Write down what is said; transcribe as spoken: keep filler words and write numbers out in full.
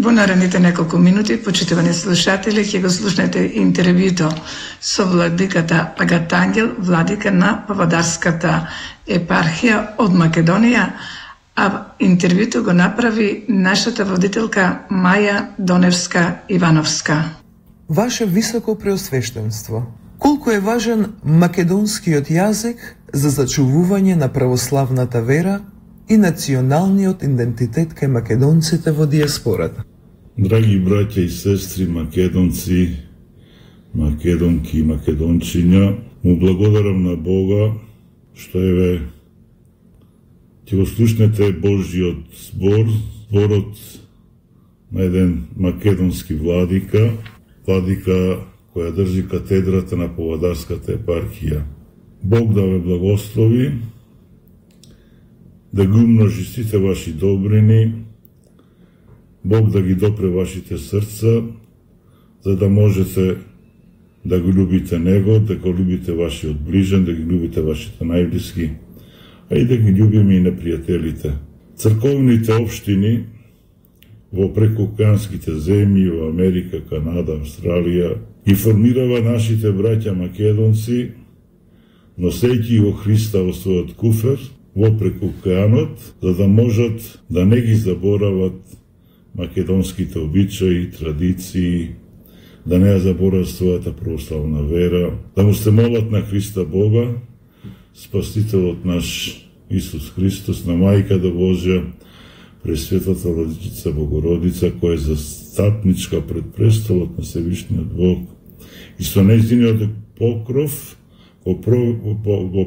Во наредните неколку минути, почитувани слушатели, ќе го слушнете интервјуто со владиката Агата Ангел, владика на Павлодарската епархија од Македонија, а интервјуто го направи нашата водителка Маја Доневска-Ивановска. Ваше високо преосвештенство, колку е важен македонскиот јазик за зачувување на православната вера и националниот идентитет кај македонците во диаспората? Драги браќа и сестри, македонци, македонки и македончиња, му благодарам на Бога што еве ќе го слушнете Божјиот збор, зборот на еден македонски владика, владика која држи катедрата на Павлодарската епархија. Бог да ве благослови, да ги умножи сите ваши добрини, Бог да ги допре вашите срца, за да можете да го љубите Него, да го љубите вашиот ближен, да ги љубите вашите најблиски, а и да ги љубиме и непријателите. Црковните општини во прекуокеанските земји, во Америка, Канада, Австралија, ги формирава нашите браќа македонци, носејќи го Христа во својот куфер, во прекуокеанот, за да можат да не ги заборават македонските обичаи, традиции, да не ја заборават својата православна вера, да му се молат на Христа Бога, Спасителот наш Исус Христос, на Мајката Божја, Пресветата Владичица Богородица, која е застапничка пред престолот на Севишниот Бог, и со нејзиниот покров го